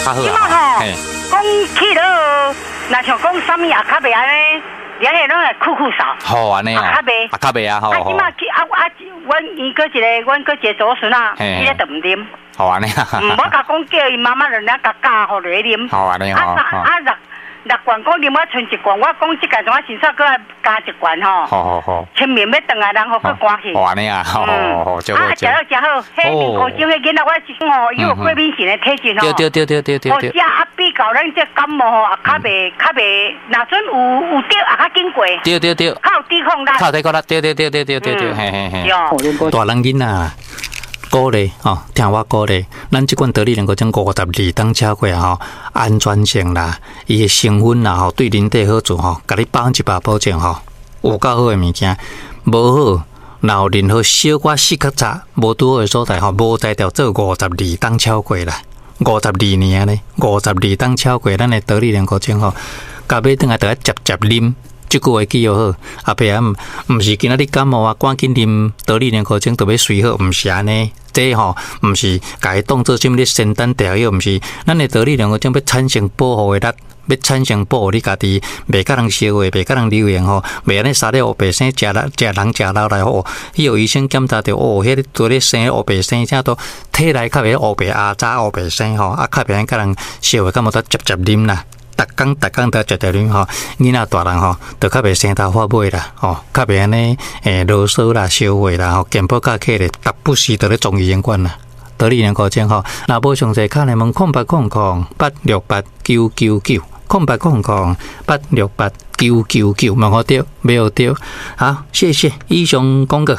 較好這馬啊，吼嘿，講去了，若像講啥物也較袂按呢，連下攏會酷酷掃。好按呢哦，啊較袂啊較袂啊，好啊，好這馬去啊啊，阮伊閣一个，阮閣一个祖孫啊，伊咧就毋啉。好按呢啊，嗯，我共講叫伊媽媽兩兩共教予落啉。好按呢啊吼，三啊六六罐講啉我賰一罐，我講這屆怎啊先煞閣愛加一罐吼。好好好，清明欲轉來，人予閣寒去。好按呢啊，好好好，就啊，好食了誠好，彼面糊精彼囡仔我是講吼，伊有過敏性的體質吼。對對對對對哦，對食啊比較咱這感冒吼，也較袂較袂，若準有有著也較緊過，對對對，較有抵抗力。較有抵抗力，對對對對對對對，嘿嘿嘿。對。大人囡仔鼓勵吼，聽我鼓勵，咱這款得力能夠將52冬超過吼，安全性啦，伊的成分啦吼，對人體好處吼，共你100%保證吼，有夠好的物件，無好，若有任何小可死較早，無拄好的所在吼，無才調做52冬超過啦，52年呢，五十二冬超過，咱的得力能夠將吼，共買轉來著愛捷捷啉。這句話記好，阿伯啊，毋是今仔日感冒啊，趕緊啉得力濃糊精就欲隨好，毋是按呢。這吼毋是共伊當做啥物咧仙丹調藥，毋是。咱的得力濃糊精欲產生保護的力，欲產生保護你家己，袂共人相話，袂共人流言吼，袂按呢三日烏白生，食人食人食老來吼，彼予醫生檢查著哦，彼个拄咧生烏白生，這都體內較袂烏白阿早烏白生吼，啊較袂按共人相話，敢無得捷捷啉啦。逐工逐工都捷捷啉吼，囡仔大人吼，就較袂生頭髮尾啦，吼，較袂按呢囉嗦啦、相話啦，吼，健保卡揢咧，逐不時就咧中醫院管啦。得力濃糊精吼，若無詳細，敲來問0800-868-999，0800-868-999，問予著，買予著。好，謝謝，以上廣告。